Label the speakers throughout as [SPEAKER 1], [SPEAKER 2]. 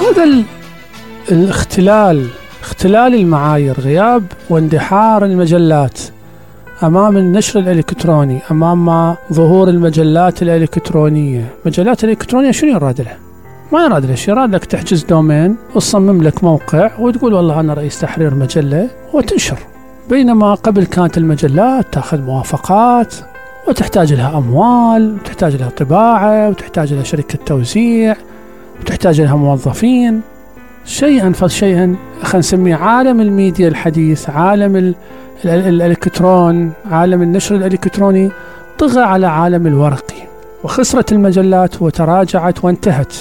[SPEAKER 1] هذا اختلال المعايير، غياب واندحار المجلات أمام النشر الإلكتروني، أمام ظهور المجلات الإلكترونية. مجلات الإلكترونية شنو يراد لها؟ ما يراد لها شيء، يراد لك تحجز دومين وتصمم لك موقع وتقول والله أنا رئيس تحرير مجلة وتنشر. بينما قبل كانت المجلات تأخذ موافقات وتحتاج لها أموال، وتحتاج لها طباعة، وتحتاج لها شركة توزيع، وتحتاج لها موظفين. شيئا فشيئا خلينا نسميه عالم الميديا الحديث، عالم الإلكترون، عالم النشر الإلكتروني طغى على عالم الورقي، وخسرت المجلات وتراجعت وانتهت.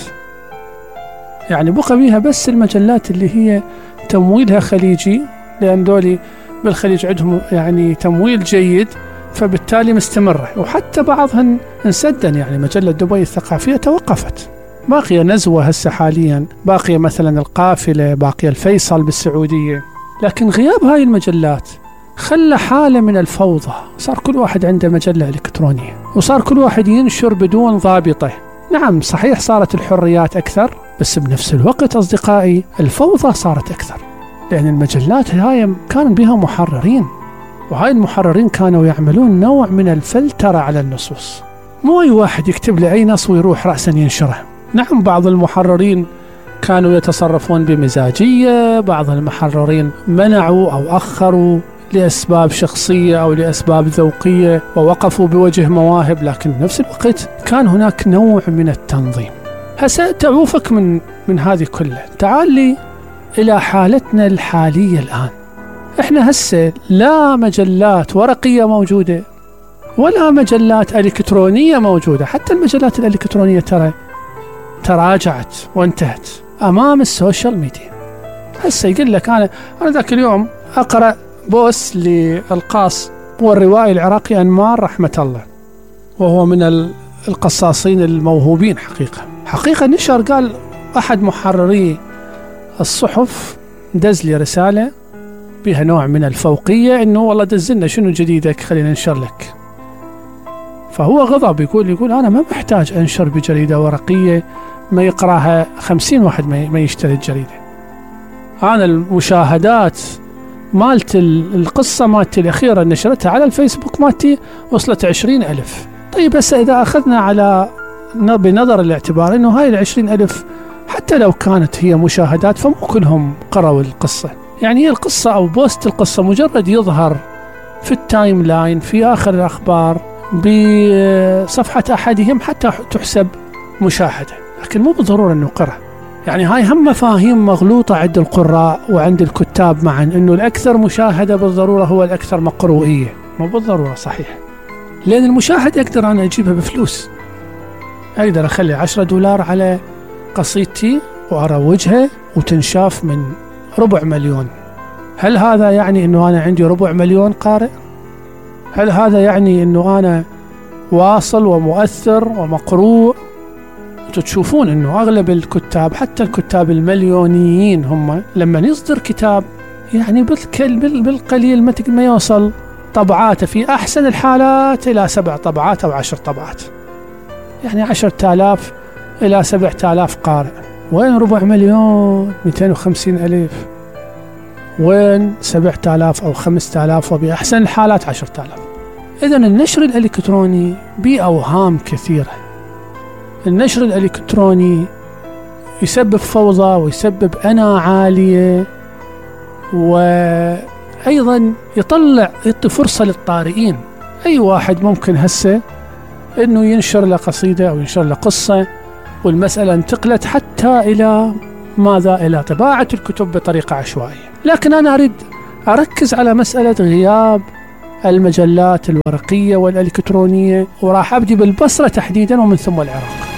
[SPEAKER 1] يعني بقى بيها بس المجلات اللي هي تمويلها خليجي، لأن دولي بالخليج عندهم يعني تمويل جيد، فبالتالي مستمرة. وحتى بعضها انسدن، يعني مجلة دبي الثقافية توقفت. باقية نزوة هسه حاليا، باقية مثلا القافلة، باقية الفيصل بالسعودية. لكن غياب هاي المجلات خلى حالة من الفوضى، صار كل واحد عنده مجلة إلكترونية، وصار كل واحد ينشر بدون ضابطة. نعم صحيح صارت الحريات أكثر، بس بنفس الوقت أصدقائي الفوضى صارت أكثر، لأن المجلات هاي كان بها محررين، وهاي المحررين كانوا يعملون نوع من الفلترة على النصوص. مو أي واحد يكتب لي أي نص ويروح رأسا ينشره. نعم بعض المحررين كانوا يتصرفون بمزاجية، بعض المحررين منعوا أو أخروا لأسباب شخصية أو لأسباب ذوقية ووقفوا بوجه مواهب، لكن بنفس الوقت كان هناك نوع من التنظيم. هسه تعوفك من هذه كلها. تعال لي إلى حالتنا الحالية الآن. إحنا هسه لا مجلات ورقية موجودة ولا مجلات إلكترونية موجودة. حتى المجلات الإلكترونية تراجعت وانتهت أمام السوشيال ميديا. هسه يقول لك أنا ذاك اليوم أقرأ بوست للقاص والروائي العراقي أنمار رحمة الله، وهو من القصاصين الموهوبين حقيقة نشر، قال أحد محرري الصحف دز لي رسالة بها نوع من الفوقية، إنه والله دزلنا شنو جديدك خلينا ننشر لك. فهو غضب، يقول أنا ما محتاج أنشر بجريدة ورقية ما يقرأها 50 واحد ما يشتري الجريدة. أنا المشاهدات مالت القصة مالتي الأخيرة نشرتها على الفيسبوك مالتي وصلت 20,000. طيب بس إذا أخذنا بنظر الاعتبار إنه هاي 20,000 حتى لو كانت هي مشاهدات فمو كلهم قرأوا القصة. يعني هي القصة أو بوست القصة مجرد يظهر في التايم لاين في آخر الأخبار بصفحة أحدهم حتى تحسب مشاهدة، لكن مو بالضرورة أنه قرأ. يعني هاي هم مفاهيم مغلوطة عند القراء وعند الكتاب معا، أنه الأكثر مشاهدة بالضرورة هو الأكثر مقروئية. مو بالضرورة صحيح، لأن المشاهدة أقدر أنا أجيبها بفلوس. أقدر أخلي $10 على قصيدتي وأروجها وتنشاف من 250,000. هل هذا يعني أنه أنا عندي 250,000 قارئ؟ هل هذا يعني أنه أنا واصل ومؤثر ومقروء؟ تشوفون أنه أغلب الكتاب، حتى الكتاب المليونيين، هم لما يصدر كتاب يعني بالقليل ما يوصل طبعاته في أحسن الحالات إلى 7 طبعات أو 10 طبعات. يعني 10,000 إلى 7,000 قارئ. وين 4,250,000؟ وين 7,000 أو 5,000 وبأحسن الحالات 10,000؟ إذن النشر الإلكتروني بأوهام كثيرة. النشر الإلكتروني يسبب فوضى ويسبب أنا عالية، وأيضا يعطي فرصة للطارئين. أي واحد ممكن هسه أنه ينشر له قصيدة أو ينشر له قصة، والمسألة انتقلت حتى إلى ماذا؟ إلى طباعة الكتب بطريقة عشوائية. لكن أنا أريد أركز على مسألة غياب المجلات الورقية والإلكترونية، وراح أبدي بالبصرة تحديدا ومن ثم العراق.